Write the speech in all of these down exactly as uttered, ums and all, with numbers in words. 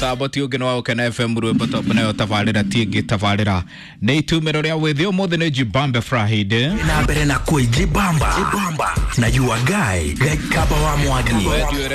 Mutambo ti ũngĩ nĩ wa Gũkena F M rwĩmbo top nayo tabarĩra ti ĩngĩ tabarĩra nĩ itumĩro rĩa wĩthĩ. Ũmũthĩ nĩ Jibambe Friday na mbere na kwĩjibamba na your guy Gikaba wa Mwangi.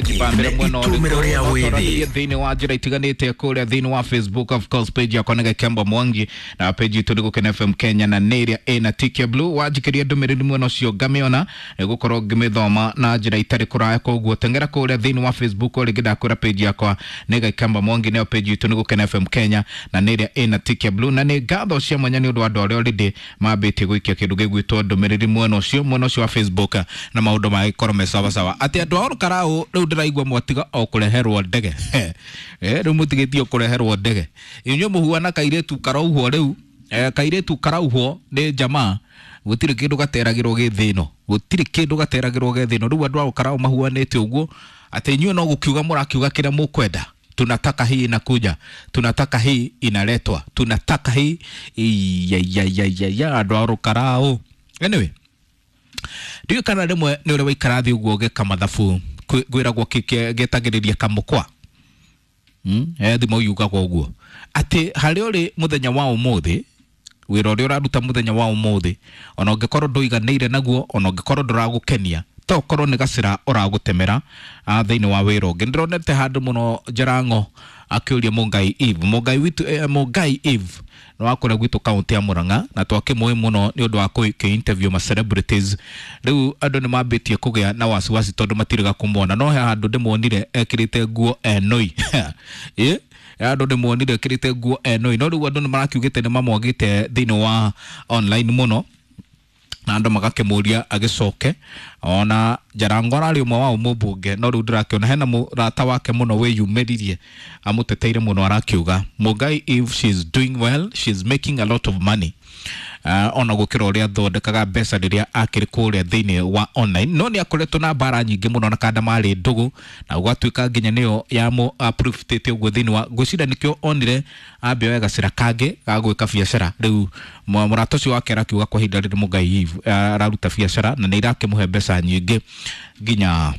Jibambe mwena itumĩro rĩa wĩthĩ thĩinĩ wa njĩra itiganĩte kũrĩa thĩinĩ wa Facebook, of course page yakwa nĩ Gikemba Mwangi na page itũ nĩ Gũkena F M Kenya na nĩ ĩrĩa ĩna tick blue. Wanjikĩria ndũmĩrĩri mwena ũcio ngamĩona nĩgũkorwo ngĩmĩthoma na njĩra itarĩ kũraya, koguo teng'era kũrĩa thĩinĩ wa Facebook o rĩngĩ ndakwĩra page yakwa nĩ Gikemba Mwangi nayo page itũ nĩ Gũkena F M Kenya na nĩ ĩrĩa ĩna tick blue. Na nĩ ngatho cia mwanya nĩ ũndũ wa andũ arĩa already mambĩtie gũikia kĩndũ gĩgwĩtwo ndũmĩrĩri mwena ũcio mwena ũcio wa Facebook na maũndũ magĩkorwo me sawa sawa. Atĩ andũ a Olkarau rĩu ndĩraigua mwatiga o kũreherwo ndege. Eh, rĩu mũtigĩtie kũreherwo ndege. Inyuĩ mũhuana kairĩtu karauhwo rĩu, eh, kairĩtu karauhwo nĩ jamaa gũtirĩ kĩndũ gateragĩrwo gĩ thĩ ĩno, gũtirĩ kĩndũ gateragĩrwo gĩ thĩ ĩno. Rĩu andũ a Olkarau mahuanĩte ũguo atĩ inyuĩ no gũkiuga mũrakiuga kĩrĩa mũkwenda. Tunataka hii inakuja, tunataka hii inaletwa, tunataka hii ya ya ya ya ya andũ a Olkarau. Anyway, ndiũĩ kana rĩmwe nĩ ũrĩa waikara thĩ ũguo ũgĩka mathabu ngwĩragwo gĩtagĩrĩria kamũkwa. Mm, eh, thimo yugagwo ũguo atĩ harĩa ũrĩ mũthenya wa ũmũthĩ, wĩra ũrĩa ũraruta mũthenya wa ũmũthĩ, ona ũngĩkorwo ndũiganĩire naguo, ona ũngĩkorwo ndũragũkenia, to ũkorwo nĩ gacĩra ũragũtemera thĩinĩ wa wĩra ũngĩ. Ndĩronete handũ mũno Njarango akĩũria Mũngai Eve, Mũngai witũ, eh, Mũngai Eve nĩ wa kũrĩa gwitũ kaunti ya Murang'a na twakĩmũĩ mũno nĩ ũndũ wa kũ interview ma celebrities. Rĩu andũ nĩ mambĩtie kũgĩa na wasiwasi tondũ matiriga kũmuona, no he handũ ndĩmuonire ekĩrĩte nguo enoi. Ĩ andũ ndĩmuonire ekĩrĩte nguo enoi, no rĩu andũ nĩ marakiugĩte nĩ mamwagĩte thĩinĩ wa online mũno na andũ magakĩmũria agĩcoke. Ona Njarango ararĩ ũmwe wao mũmbunge, no rĩu ndĩrakĩona hena mũrata wake mũno wĩyumĩririe amũteteire mũno, arakiuga Mũngai if she's doing well, she's making a lot of money. Uh, ona gũkĩra ũrĩa athondekaga mbeca rĩrĩa akĩrĩ kũrĩa thĩinĩ wa online. No nĩ akoretwo na mbara nyingĩ mũno na kanda marĩ ndũgũ na gũgatuĩka nginya nĩyo yamũ approve-tĩte ũguo thĩinĩ wa ngwĩciria nĩkĩo onire ambia oe gacĩra kangĩ ga gwĩka biacara. Rĩu mũrata ũcio wake arakiuga kwa ihinda rĩrĩ Mũngai Eve araruta biacara na nĩ irakĩmũhe mbeca nyingĩ nginya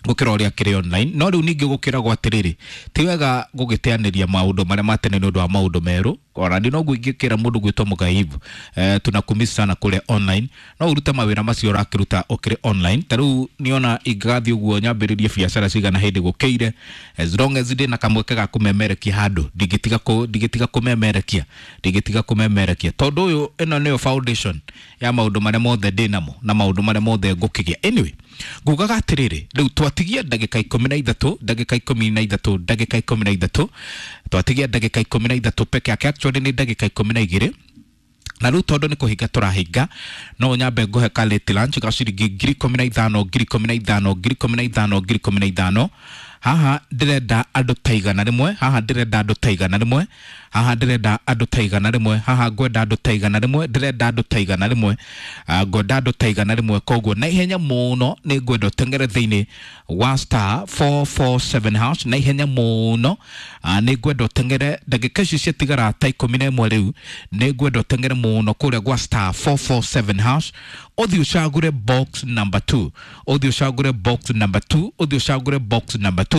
gũkĩra ũrĩa akĩrĩ online. No rĩu ningĩ gũkĩragwo atĩrĩrĩ, ti wega gũgĩteanĩria maũndũ marĩa ma tene nĩ ũndũ wa maũndũ merũ. Ona niĩ noguo ingĩkĩra mũndũ gwĩtwo Mũngai Eve, eh, tunakumisi sana kũrĩa online, no ũrute mawĩra macio ũrakĩruta ũkĩrĩ online. Ta rĩu niona ingĩgathiĩ ũguo nyambĩrĩrie biacara cigana hĩndĩ gũkĩire, as long as ndĩna kamweke ga kũmemerekia handũ, ndingĩtiga kũ, ndingĩtiga kũmemerekia, ndingĩtiga kũmemerekia, tondũ ũyũ ĩno nĩyo foundation ya maũndũ marĩa mothe ndĩnamo na maũndũ marĩa mothe ngũkĩgĩa. Anyway, ngugaga atĩrĩrĩ, rĩu twatigia ndagĩka ikũmi na ithatũ, ndagĩka ikũmi na ithatũ, ndagĩka ikũmi na ithatũ, twatigia ndagĩka ikũmi na ithatũ peke yake, actually nĩ ndagĩka ikũmi na igĩrĩ. Na rĩu tondũ nĩ kũhinga tũrahinga, no nyambe ngũhe ka late lunch ga ciringi ngiri ikũmi na ithano, ngiri ikũmi na ithano, ngiri ikũmi na ithano, ngiri ikũmi na ithano. Haha ndĩrenda andũ ta igana rĩmwe, haha ndĩrenda andũ ta igana rĩmwe, haha ndĩrenda andũ ta igana rĩmwe, haha ngwenda andũ ta igana rĩmwe, ndĩrenda andũ ta igana rĩmwe, ngwenda andũ ta igana rĩmwe. Koguo na ihenya mũno nĩ ngwenda ũteng'ere thĩinĩ wa star four four seven hash, na ihenya mũno nĩ ngwenda ũteng'ere ndagĩka ici ciatigara ta ikũmi na ĩmwe rĩu, nĩ ngwenda ũteng'ere mũno kũrĩa gwa star four four seven hash, ũthiĩ ũcagũre box number two, ũthiĩ ũcagũre box number two, ũthiĩ ũcagũre box number two.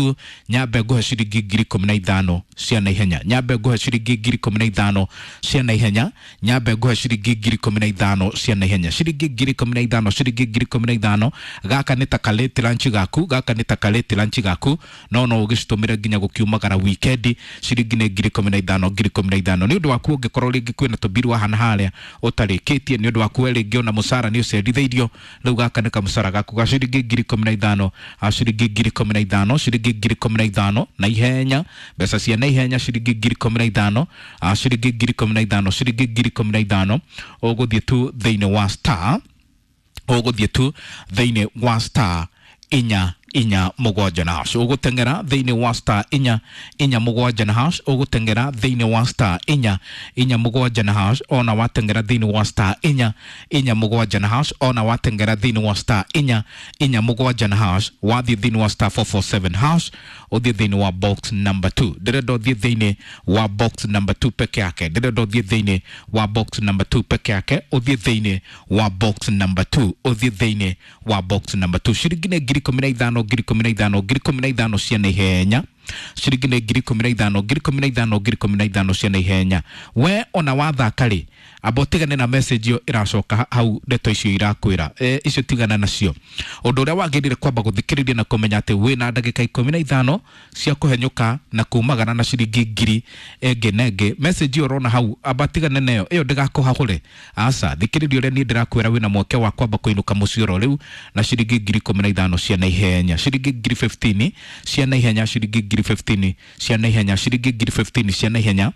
Nyambe ngũhe ciringi ngiri ikũmi na ithano cia naihenya, nyambe ngũhe ciringi ngiri ikũmi na ithano cia naihenya, nyambe ngũhe ciringi ngiri ikũmi na ithano cia naihenya, ciringi ngiri ikũmi na ithano, ciringi ngiri ikũmi na ithano. Gaka nĩ ta ka late lunch gaku, gaka nĩ ta ka late lunch gaku, no no ũgĩcitũmĩre nginya gũkiumagara weekend. Ciringi nĩ ngiri ikũmi na ithano, ngiri ikũmi na ithano. Nĩ ũndũ waku ũngĩkorwo rĩngĩ kwĩna tũmbiru wa hana harĩa ũtarĩkĩtie, nĩ ũndũ waku we rĩngĩ ona mũcara nĩ ũcerithĩirio, rĩu gaka nĩ kamũcara gaku ga ciringi ngiri ikũmi na ithano, ciringi ngiri ikũmi na ithano, ciringi ngiri ikũmi na ithano na ihenya, mbeca cia na ihenya ciringi ngiri ikũmi na ithano, ciringi ngiri ikũmi na ithano, ciringi ngiri ikũmi na ithano. Ũgũthiĩ tu thĩinĩ wa star, ũgũthiĩ tu thĩinĩ wa star inya inya mũgwanja na hash, ũgũteng'era thĩinĩ wa star inya inya mũgwanja na hash, ũgũteng'era thĩinĩ wa star inya inya mũgwanja na hash, ona wateng'era thĩinĩ wa star inya inya mũgwanja na hash, ona wateng'era thĩinĩ wa star inya inya mũgwanja na hash, wathiĩ thĩinĩ wa star four four seven hash, ũthiĩ thĩinĩ wa box number two. Ndĩrenda ũthiĩ thĩinĩ wa box number two peke yake, ndĩrenda ũthiĩ thĩinĩ wa box number two peke yake, ũthiĩ thĩinĩ wa box number two, ũthiĩ thĩinĩ wa box number two. Ciringi nĩ ngiri ikũmi na ithano, ngiri ikũmi na ithano, ngiri ikũmi na ithano cia naihenya. Ciringi nĩ ngiri ikũmi na ithano, ngiri ikũmi na ithano, ngiri ikũmi na ithano cia naihenya. We ona wathaka rĩ, amba ũtigane na message ĩyo ĩracoka hau, ndeto icio irakwĩra e, icio tigana nacio. Ũndũ ũrĩa wagĩrĩire kwamba gũthikĩrĩria na kũmenya atĩ wĩna ndagĩka ikũmi na ithano cia kũhenyũka na kumagara na ciringi ngiri ĩngĩ na ĩngĩ. Message ĩyo ũrona hau, amba tigane nayo, ĩyo ndĩgakũhahũre. Aca, thikĩrĩria ũrĩa niĩ ndĩrakwĩra, wĩna mweke wa kwamba kũinũka mũciĩ oro rĩu na ciringi ngiri ikũmi na ithano cia naihenya, ciringi ngiri fifteen cia naihenya, ciringi ngiri fifteen cia naihenya, ciringi ngiri fifteen cia naihenya,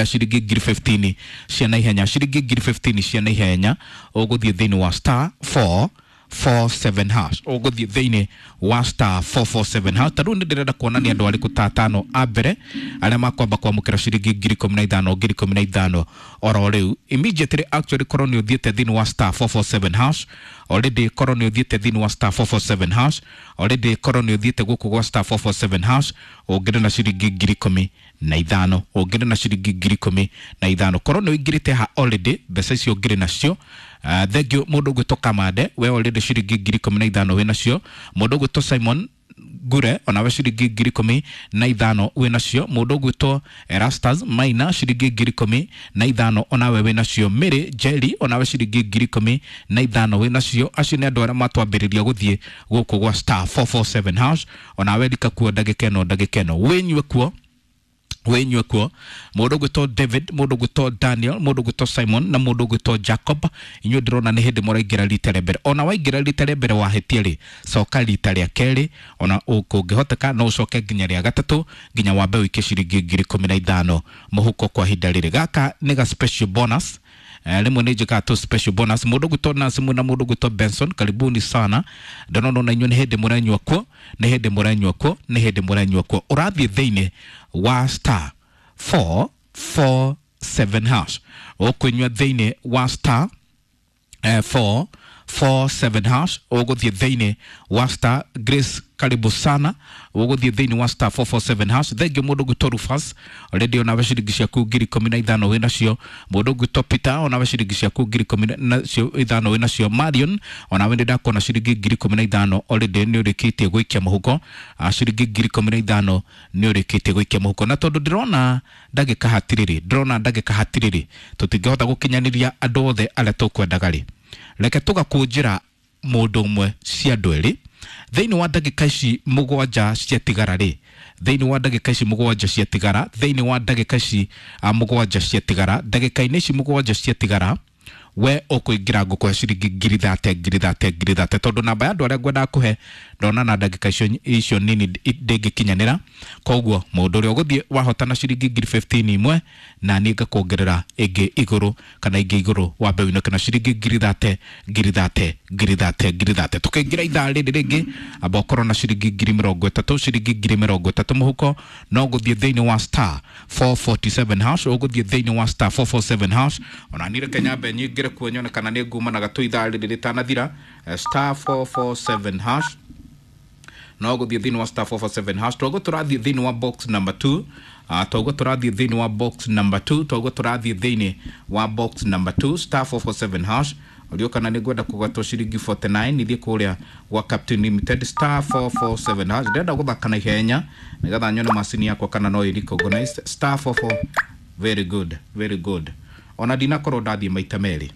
ciringi ngiri fifteen cia naihenya, ciringi ngiri fifteen cia naihenya. Ũgũthiĩ thĩinĩ wa star four four seven hash, ũgũthiĩ thĩinĩ wa star four four seven hash. Ta rĩu nĩ ndĩrenda kuona nĩ andũ arĩkũ ta atano a mbere arĩa makwamba kwamũkĩra ciringi ngiri ikũmi na ithano, ngiri ikũmi na ithano oro rĩu immediately. Actually, korwo nĩ ũthiĩte thĩinĩ wa star four four seven hash already, korwo nĩ ũthiĩte thĩinĩ wa star four four seven hash already, korwo nĩ ũthiĩte gũkũ gwa star four four seven hash, ũngĩrĩ na ciringi ngiri ikũmi na ithano, ũngĩrĩ na ciringi ngiri ikũmi na ithano. Korwo nĩ ũingĩrĩte ha already, mbeca icio ũngĩrĩ nacio. Uh, thank you mũndũ ũgwĩtwo Kamande, we already ciringi ngiri ikũmi na ithano wĩ nacio. Mũndũ ũgwĩtwo Simon Ngure, onawe ciringi ngiri ikũmi na ithano wĩ nacio. Mũndũ ũgwĩtwo Erastus Maina, ciringi ngiri ikũmi na ithano onawe wĩ nacio. Mary Jerry, onawe ciringi ngiri ikũmi na ithano wĩ nacio. Acio nĩ andũ arĩa matwambĩrĩria gũthiĩ gũkũ gwa star four four seven hash. Onawe rika kuo ndagĩka ĩno, ndagĩka ĩno wĩnyue kuo, wĩnyue kuo. Mũndũ ũgwĩtwo David, mũndũ ũgwĩtwo Daniel, mũndũ ũgwĩtwo Simon na mũndũ ũgwĩtwo Jacob, inyuĩ ndĩrona nĩ hĩndĩ mũraingĩra rita rĩa mbere. Ona waingĩra rita rĩa mbere wahĩtia rĩ, coka rita rĩa kerĩ, ona kũngĩhoteka no ũcoke nginya rĩa gatatũ, nginya wambe ũikie ciringi ngiri ikũmi na ithano mũhuko kwa ihinda rĩrĩ. Gaka nĩ ga special bonus. Rĩmwe nĩ njĩkaga tu special bonus. Mũndũ ũgwĩtwo Nancy na mũndũ ũgwĩtwo Benson, karibuni sana. Ndĩrona ona inyuĩ nĩ hĩndĩ mũranyua kuo, nĩ hĩndĩ mũranyua kuo, nĩ hĩndĩ mũranyua kuo. Ũrathiĩ thĩinĩ wa star four four seven hash, ũkũnyua thĩinĩ wa star four four seven hash, ũgũthiĩ thĩinĩ wa star. Grace, karibu sana, ũgũthiĩ thĩinĩ wa star four four seven hash. Thengiũ mũndũ ũgwĩtwo Rufus, already onawe ciringi ciaku ngiri ikũmi na ithano wĩ nacio. Mũndũ ũgwĩtwo Peter, onawe ciringi ciaku ngiri ikũmi na ithano wĩ nacio. Marion, onawe nĩ ndakuona ciringi ngiri ikũmi na ithano already nĩ ũrĩkĩtie gũikia mũhuko. Ciringi ngiri ikũmi na ithano nĩ ũrĩkĩtie gũikia mũhuko. Na tondũ ndĩrona ndagĩka hatirĩrĩ, ndĩrona ndagĩka hatirĩrĩ, tũtingĩhota gũkinyanĩria andũ othe arĩa tũkwendaga rĩ, reke tũgakũnjĩra mũndũ ũmwe cia andũ erĩ thĩinĩ wa ndagĩka ici mũgwanja ciatigara rĩ, thĩinĩ wa ndagĩka ici mũgwanja ciatigara, thĩinĩ wa ndagĩka ici mũgwanja ciatigara, ndagĩka-inĩ ici mũgwanja ciatigara, we ũkũingĩra ngũkũhe ciringi ngiri thate, ngiri thate, ngiri thate, tondũ namba ya andũ arĩa ngwendaga kũhe ndona na ndagĩka icio icio nini ndĩngĩkinyanĩra. Koguo mũndũ ũrĩa ũgũthiĩ wahotana ciringi ngiri fifteen imwe, na niĩ ngakuongerera ĩngĩ igũrũ kana ingĩ igũrũ, wambe ũinũke na ciringi ngiri thate, ngiri thate, ngiri thate, ngiri thate. Tũkĩingĩra ithaa rĩrĩ rĩngĩ, amba ũkorwo na ciringi ngiri mĩrongo ĩtatũ, ciringi ngiri mĩrongo ĩtatũ mũhuko, no gũthiĩ thĩinĩ wa star four forty-seven hash, ũgũthiĩ thĩinĩ wa star four four seven hash. Ona niĩ reke nyambe nyingĩre kuo nyone kana nĩ nguma na gatũ ithaa rĩrĩ rĩtanathira. Star four four seven hash, no gũthiĩ thĩinĩ wa star four four seven hash. Twaguo tũrathiĩ thĩinĩ wa box number two, twaguo tũrathiĩ thĩinĩ wa box number two, twaguo tũrathiĩ thĩinĩ wa box number two, star four four seven hash. Ũrio kana nĩ ngwenda kũgwatwo ciringi forty-nine ithiĩ kũrĩa gwa Captain Limited, star four four seven hash. Ndĩrenda gũthaka na ihenya nĩgetha nyone macini yakwa kana no ĩ-recognize star four four. Very good, very good. Ona ndinakorwo ndathiĩ maita merĩ,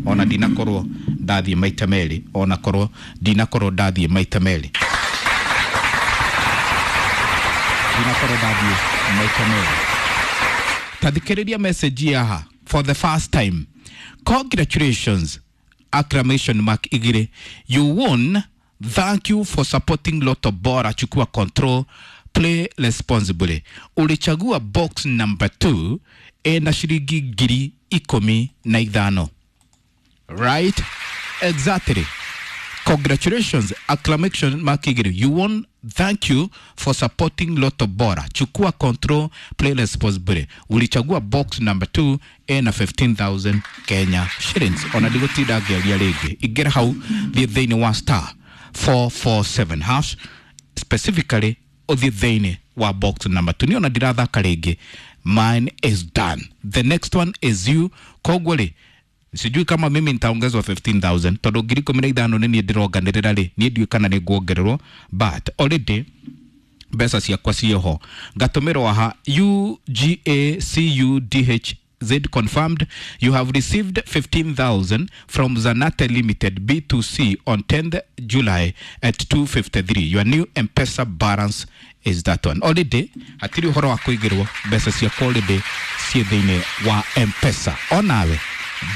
ona ndinakorwo ndathiĩ maita merĩ, ona korwo ndinakorwo ndathiĩ maita merĩ, ndinakorwo ndathiĩ maita merĩ. Tathikĩrĩria message yaha for the first time. Congratulations, acclamation mark igire, you won. Thank you for supporting Lotto Bora. Chukua control, play responsibly. Ulichagua box number two ena shilingi ngiri ikũmi na ithano. Right? Exactly. Congratulations, acclamation mark igire, you won. Thank you for supporting Lotto Bora. Chukua control, play responsibly. Ulichagua box number two ena fifteen thousand Kenya shillings. Ona ndigũtinda ngĩaria rĩngĩ. Ingĩra hau thiĩ thĩinĩ wa star four four seven hash, specifically ũthiĩ thĩinĩ wa box number two. Niĩ ona ndirathaka rĩngĩ. Mine is done. The next one is you. Koguo rĩ, sijui kama mimi nitaongezwa fifteen thousand tondũ ngiri ikũmi na ithano nĩ niĩ ndĩronganĩrĩra rĩ, niĩ ndiũĩ kana nĩ nguongererwo, but already Mbeca ciakwa ciĩho, ngatũmĩrwo aha U G A C U D H Z confirmed you have received fifteen thousand from Zanate Limited B two C on tenth July at two fifty-three. Your new M-Pesa balance is that one. Already hatirĩ ũhoro wa kũigĩrwo, mbeca ciakwa already ciĩ thĩinĩ wa M-Pesa. Onawe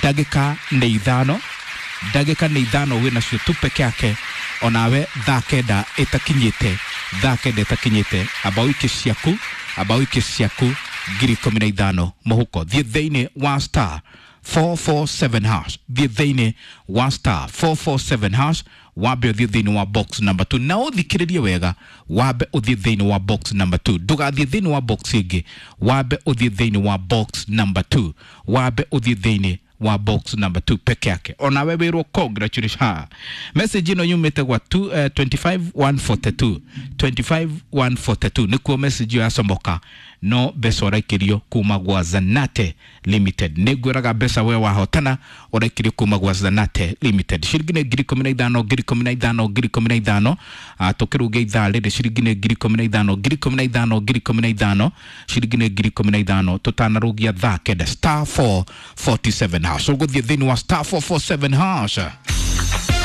ndagĩka nĩ ithano, ndagĩka nĩ ithano wĩ nacio tu peke yake. Onawe thaa kenda ĩtakinyĩte, thaa kenda ĩtakinyĩte, amba ũikie ciaku, amba ũikie ciaku ngiri ikũmi na ithano mũhuko. Thiĩ thĩinĩ wa star four four seven hash, thiĩ thĩinĩ wa star four four seven hash, wambe ũthiĩ thĩinĩ wa box number two, na ũthikĩrĩrie wega, wambe ũthiĩ thĩinĩ wa box number two, ndũgathiĩ thĩinĩ wa box ĩngĩ, wambe ũthiĩ thĩinĩ wa box number two, wambe ũthiĩ thĩinĩ wa box number two peke yake. Onawe wĩrwo congratulations. Ha, message ĩno yumĩte gwa two, uh, twenty-five one forty-two, twenty-five one forty-two nĩkuo message ĩyo yacomoka. No mbeca ũraikĩrio kuma gwa Zanate Limited. Nĩ ngwĩraga mbeca we wahotana ũraikĩrio kuma gwa Zanate Limited, ciringi nĩ ngiri ikũmi na ithano, ngiri ikũmi na ithano, ngiri ikũmi na ithano. Ah, tũkĩrũngia ithaa rĩrĩ, ciringi nĩ ngiri ikũmi na ithano, ngiri ikũmi na ithano, ngiri ikũmi na ithano, ciringi nĩ ngiri ikũmi na ithano tũtanarũgia thaa kenda. Star four forty-seven hash, ũgũthiĩ thĩinĩ wa star four forty-seven hash.